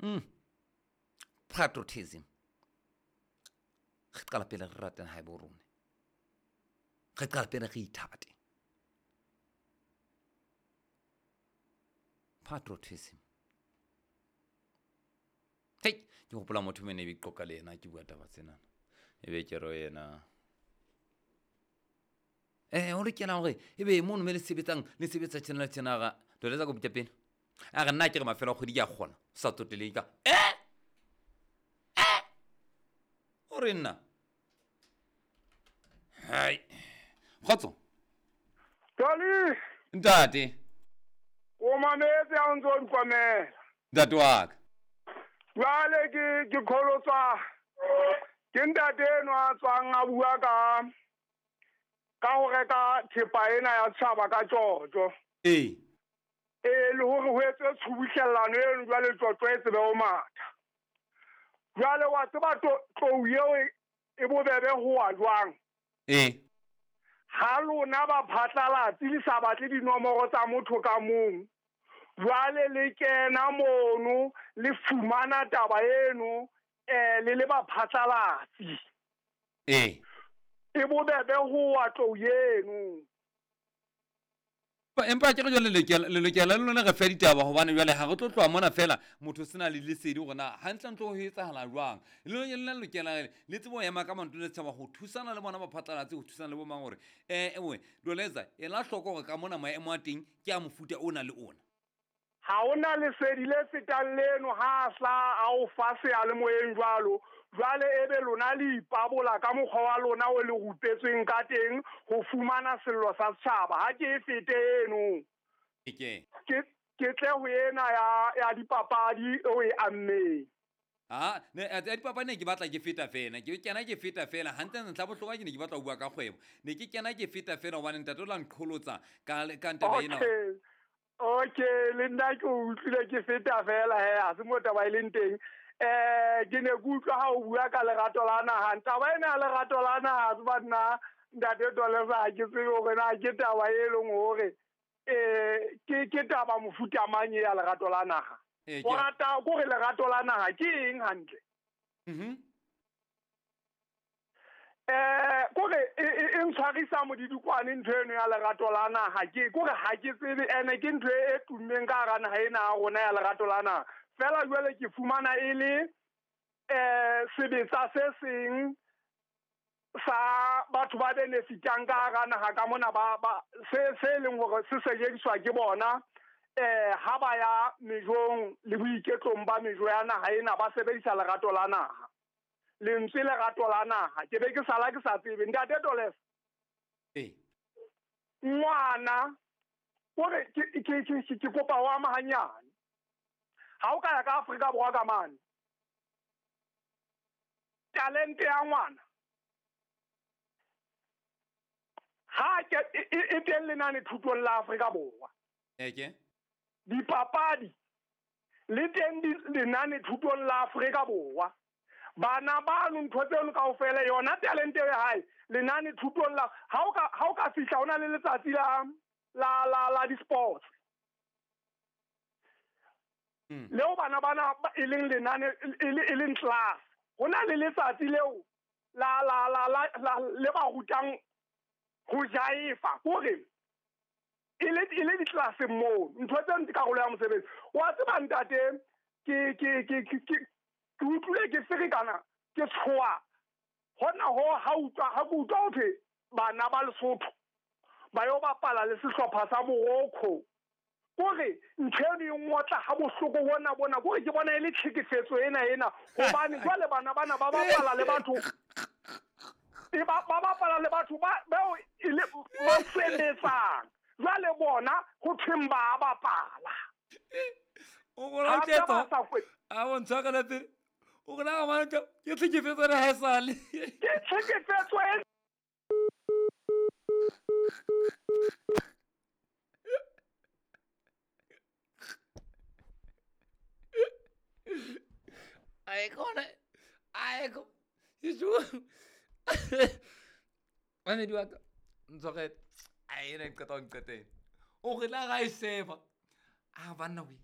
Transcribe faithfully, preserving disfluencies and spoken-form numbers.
Mm. Patriotism. Re qala pele re rate naha ya bo rona. Re qala pele re ithate. Patriotism. Hei, ke hopola motho mene be qoqa le yena ke bua taba tsena. Ebe ke re yena. Eh, o lokela hore ebe mono me le sebetsang, le sebetsa tjena le tjena ga. Toleza ko bitsa pele. A re nna ke re mafelo a kgwedi ke a kgona. Sa tsoteleng ka. Eh! Eh! O re nna. Hai. Kgotso. Toli. Ntate. O mametse ha o ntso o nkomela. Ntate wa ka. Jwale ke ke kholotswa ke ntate enwa a tswang a bua ka ka ho reka thepa ena ya setjhaba ka tjotjo. Ee. E le hore ho etswe tshubuhlellano eno jwale tjotjo e tsebe ho matha. Jwale wa tseba tlou eo e bobebe ho wa jwang? Ee. Ha lona ba phatlalatsi le sa batle dinomoro tsa motho ka mong, jwale le kena mono le fumana taba eno eh le le ba phatlalatsi. Ee. E bobebe ho wa tlou eno. Empa ke re jwale le lokela le lokela le lona re fe ditaba hobane jwale ha re tlo tloha mona fela motho sena le lesedi hore na hantlentle ho etsahala jwang. Le lona le lokela le tsebo ema ka manto le tshaba ho thusana le bona ba phatlalatse ho thusana le bo mang hore eh ewe Doleza ela hloko hore ka mona maemo a teng ke a mofuta ona le ona. Ha ona lesedi le fetang leno ha hla a o fa seyalemoyeng jwalo. Jwale ebe lona le ipabola ka mokgwa wa lona o le rupetsweng ka teng ho fumana sello sa setjhaba. Ha ke e fete eno. Ke ke ke tle ho ena ya ya dipapadi o e ammeng. Ah, ne ya dipapadi ne ke batla ke feta fela. Ke kena ke feta fela hantle ntlha bohlokwa ke ne ke batla ho bua ka kgwebo. Ne ke kena ke feta fela hobane ntate o la nqholotsa ka ka ntaba ena. Okay. Okay, le nna ke utlwile ke feta fela he, ha se mo taba e leng teng. Eh ke ne ke utlwa ha o bua ka lerato la naha. Taba ena ya lerato la naha tseba nna ntate Doleza ha ke tsebe hore na ke taba e leng hore eh ke ke taba mofuta mang ya lerato la naha. O rata ko re lerato la naha ke eng hantle? Mhm. Eh kore e ntshwarisa modidikwane ntho eno ya lerato la naha ke kore ha ke tsebe ene ke ntho e tummeng ka hara naha ena ya rona ya lerato la naha. Fela jwale ke fumana e le eh sebetsa se seng sa batho ba benefitang ka hara naha ka mona ba ba se se leng hore se sebediswa ke bona eh ha ba ya mejong le boiketlong ba mejo ya naha ena ba sebedisa lerato la naha. Lentswe lerato la naha ke be ke sala ke sa tsebe ntate Doleza. Ee. Ngwana kore ke ke ke ke kopa ho ama hanyane. Ha o ka ya ka Afrika Borwa ka mane, talente ya ngwana ha ke e teng lenane thutong la Afrika Borwa. Eke dipapadi le teng lenane thutong la Afrika Borwa. Bana ba no ntho tseno kaofela yona talente ya hae lenane thutong la ha o ka ha o ka fihla ona le letsatsi la la la la di-sports. Mm. Leo bana bana e leng lenane e leng class. Ho na le letsatsi leo la la la la le ba rutang ho jaifa hore e le e le di-class moo ntho tseno ke karolo ya mosebetsi. Wa tseba ntate ke ke ke ke ke utlwile ke ferekana ke tshoha hona ho ha utlwa ha ke utlwa ho thwe bana ba Lesotho ba yo bapala le sehlopha sa Morocco. Kore ntho eno e ngotla ha bohloko bona bona kore ke bona e le tlhekefetso ena ena hobane jwale bana bana ba bapala le batho e ba ba bapala le batho ba bao e le ba sebetsang jwale bona ho thweng ba bapala. O bona thetso a bontsha ka pele o bona ga mana ke tlhekefetso re ha esale ke tlhekefetso e Ai kona ai ko Jesu Ane di wa ka ntshwarele ai ena qeta o nqeteng o re la ga e seva a banna we.